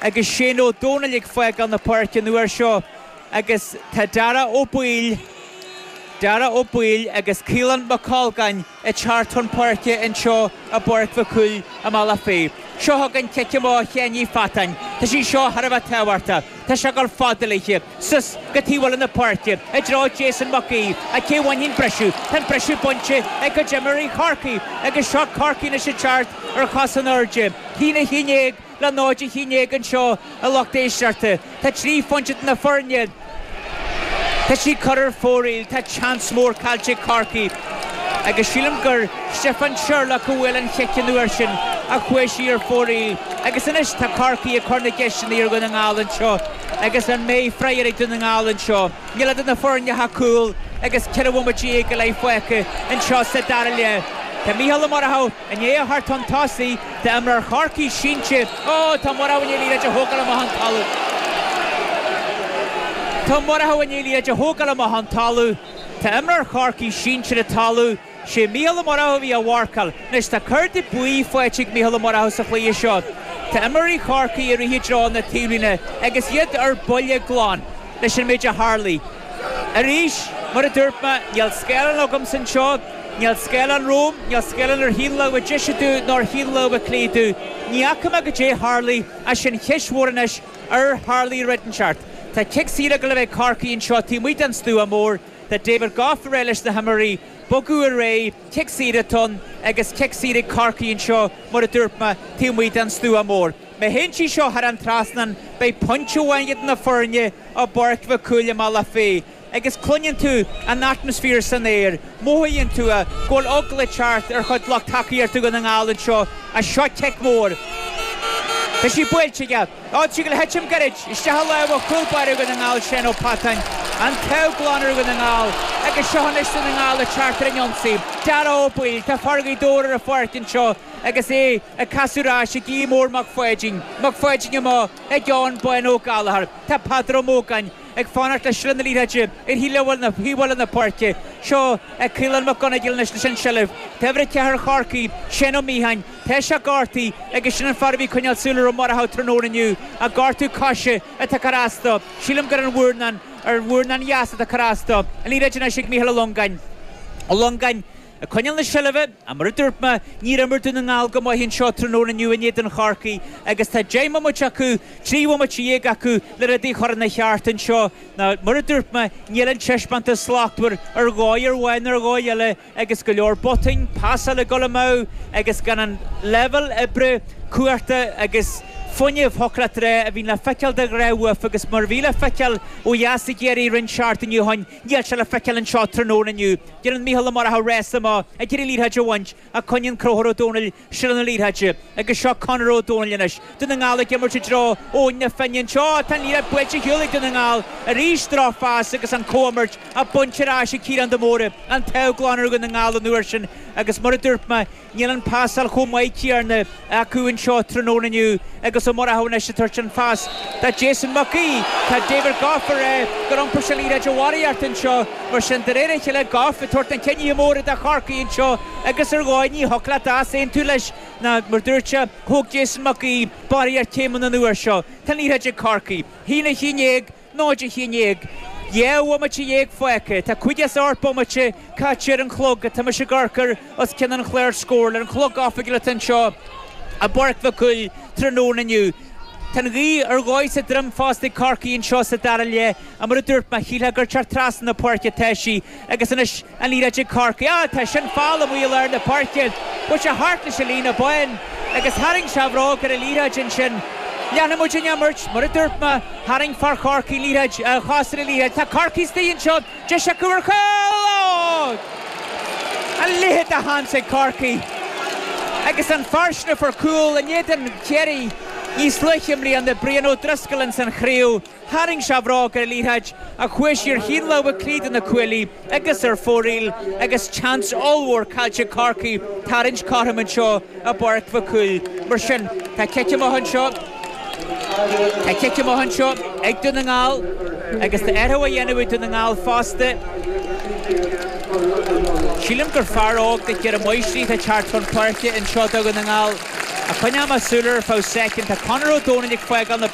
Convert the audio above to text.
Agus Shane Ó Dónaill ag fágáil na páirce an uair seo agus tá Darragh Ó Baoill, Darragh Ó Baoill agus Caolán Mac Colgáin ag teacht chun páirce anseo i bPáirc Mhic Cumhaill i mBealach Féich. Seo chugainn cic amach ó Sheáin Uí Pheatáin. Tá sí seo thar a bheith tábhachtach. Tá sé ag dul fada léithe. Suas go taobh eile na páirce i dtreo Jason Mac Aoidh. Ach cé a bhainfidh an briseadh? Tá an briseadh bainte ag cuid d'imreoirí Chorcaí agus seo Corcaigh anois ag teacht ar chos in airde. 1-11. Le 0-11 anseo, a lucht éisteachta. Tá 3 phointe idir na foirne. Tá sí curtha ar fóraoil. Tá seans mór caillte ag Corcaigh agus sílim gur Stiofán Sherlock a bhuail an chic an uair sin ach chuaigh sí ar fóraoil. Agus anois tá Corcaigh ag cur na gceisteanna ar Dhún na nGall anseo agus an mbeidh freagra ag Dún na nGall anseo? Níl idir na foirne ach cúl agus 14 bhomaite go leith fágtha anseo sa dara leath. Tá Mícheál Ó Murchú. I ndiaidh a theacht chun tosaigh, tá imreoir Chorcaí sínte. Ó, tá Murchú i ndiaidh liathróid a thógáil amach ón talamh. Tá Murchú i ndiaidh liathróid a thógáil amach ón talamh. Tá imreoir Chorcaí sínte ar an talamh. Sé Mícheál Ó Murchú a bhí á mharcáil. Anois tá cárta buí faighte ag Mícheál Ó Murchú sa chluiche seo. Tá imreoirí Chorcaí ag rith i dtreo na taobhlíne agus iad ar buile glan leis an méid a tharlaigh. Arís, mar a dúirt mé, níl scáileán agamsa anseo, níl scáileán romham, níl scáileán ar thaobh na láimhe deise domh ná ar thaobh na láimhe clé domh. Ní fhaca mé goidé a tharlaigh, ach sin cheist mhór anois, ar tharlaigh rud inteacht? Tá cic saor ag dul a bheith ag Corcaigh anseo taobh amuigh den stua mór, tá David Gough ag rá leis na himreoirí bogadh ar aghaidh, cic saor atá ann agus cic saor ag Corcaigh anseo, mar a dúirt mé, taobh amuigh den stua mór. Má théann sí seo thar an trasnán, beidh pointe amháin idir na foirne i bPáirc Mhic Cumhaill i mBealach Féich agus cluineann tú an atmaisféar san aer, mothaíonn tú é, go bhfuil eagla ag teacht ar chuid lucht tacaíochta Dhún na nGall anseo as seo cic mór. Tá sí buailte aige. Á, tá sí ag gabháil a thitim gairid isteach i lámha chúl báire Dhún na nGall, Shane Ó Peatáin. An t-ádh glan ar Dhún na nGall agus seo anois Dún na nGall ag teacht ar an ionsaí. Darragh Ó Baoill, tá fear Ghaoth Dobhair ar an pháirc anseo agus é ag casadh ar ais ag Aodh Mór Mac Pháidín. Mac Pháidín amach ag Eoin Bán Ó Gallchóir. Tá Peadar Ó Mógáin ag fanacht le seilbh na liathróide ar thaobh eile na páirce. Seo é Caolán Mac Conaill anois leis an tseilbh. Tá uimhir 4 Chorcaí, Shane Ó Miacháin. Tá sé gortaithe agus sin an fear a bhí ag coinneáil súil ar Ó Murchú tráthnóna inniu. Ach gortú coise atá ag cur as dó. Sílim gur an mhurnán, ar an mhurnán dheas atá ag cur as dó. An liathróid anois ag Mícheál Ó Longáin. Ó Longáin. Ag coinneáil na seilbhe, ach mar a dúirt mé, níor imir Dún na nGall go maith anseo tráthnóna inniu in éadan Chorcaí agus tá 10 mbomaite acu, 13 bhomaite acu le rudaí a chur ina cheart anseo. Nó mar a dúirt mé, níl an taispeántas slachtmhar ar dhóigh ar bháin ar dhóigh eile agus go leor botúin, pasáil ag dul amú agus gan an leibhéal oibre, cumhachta agus fuinnimh, thiocfadh leat a rá, a bhíonn le feiceáil de ghnáth uafa agus mar a bhí le feiceáil ó dheas i gCiarraí roinnt seachtainí ó shin, níl sé le feiceáil anseo tráthnóna inniu. Déanann Mícheál Ó Murchú rása amach ag iarraidh liathróid a bhaint ach coinníonn Conchúr Ó Dónaill seilbh na liathróide agus seo Conor Ó Dónaill anois. Dún na nGall ag imirt i dtreo Eoin na Finne anseo. Tá an liathróid buailte ar shiúl ag Dún na Ngall arís. Drochphas agus an chomhimirt á baint ar ais ag Ciarán de Mórdha. An t-ádh glan ar Dhún na nGall an uair sin agus mar a dúirt mé, Níl an phasáil chomh maith céanna acu anseo tráthnóna inniu agus Ó Murchú anois ag tabhairt an phas do Jason Mac Aoidh. Tá David Gough ag rá gur iompair sé liathróid de bharraíocht anseo. Mar sin, de réir a chéile, Gough ag tabhairt na cinnithe móra do Chorcaigh anseo agus ar dhóigh ní thiocfadh leat easaontú leis ná mar dúirt sé, thóg Jason Mac Aoidh barraíocht céimeanna an uair seo. Tá an liathróid ag Corcaigh. 1-11. 0 11. 12 bhomaite fágtha. Tá 58 bomaite caite ar an chlog atá mise ag amharc air os cionn an chláir scórála ar an chlog oifigiúil atá anseo i bPáirc Mhic Cumhaill tráthnóna inniu. Tá an ghaoth ar dhóigh sa droim fosta ag Corcaigh anseo sa dara leath ach mar a dúirt mé, shílfeá gur teacht trasna na páirce atá sí agus anois An liathróid ag Corcaigh. Ah, tá sin foul amuigh i lár na páirce. Bhuail sé thart leis an líne bán agus tharraing sé a bhróg ar an liathróid ansin. Leanfaidh muid an imirt. Mar a dúirt mé, tharraing fear Chorcaí an liathróid, a chos ar an liathróid. Tá Corcaigh istigh anseo. Deis acu ar chúl! Ó! A leithéid de sheans ag Corcaigh. Agus an fear sin a fuair cúl in éadan Chiarraí níos luaithe i mbliana, Brian Ó Drisceoil ins an chraobh. Tharraing sé a bhróg ar an liathróid ach chuaigh sí ar thaobh na láimhe clí de na cuaillí agus ar fóraoil agus seans ollmhór caillte ag Corcaigh tarraingt cothrom anseo i bPáirc Mhic Cumhaill. Mar sin, tá cic amach anseo, tá cic amach anseo ag Dún na nGall agus tá athrú á dhéanamh ag Dún na nGall fosta. Sílim gur fear óg de Dhoire Mhaoisrí atá ag teacht chun páirce anseo do Dhún na nGall. Ach coinneoidh mé súil air ar feadh soicind. Tá Conor Ó Domhnaill ag fágáil na.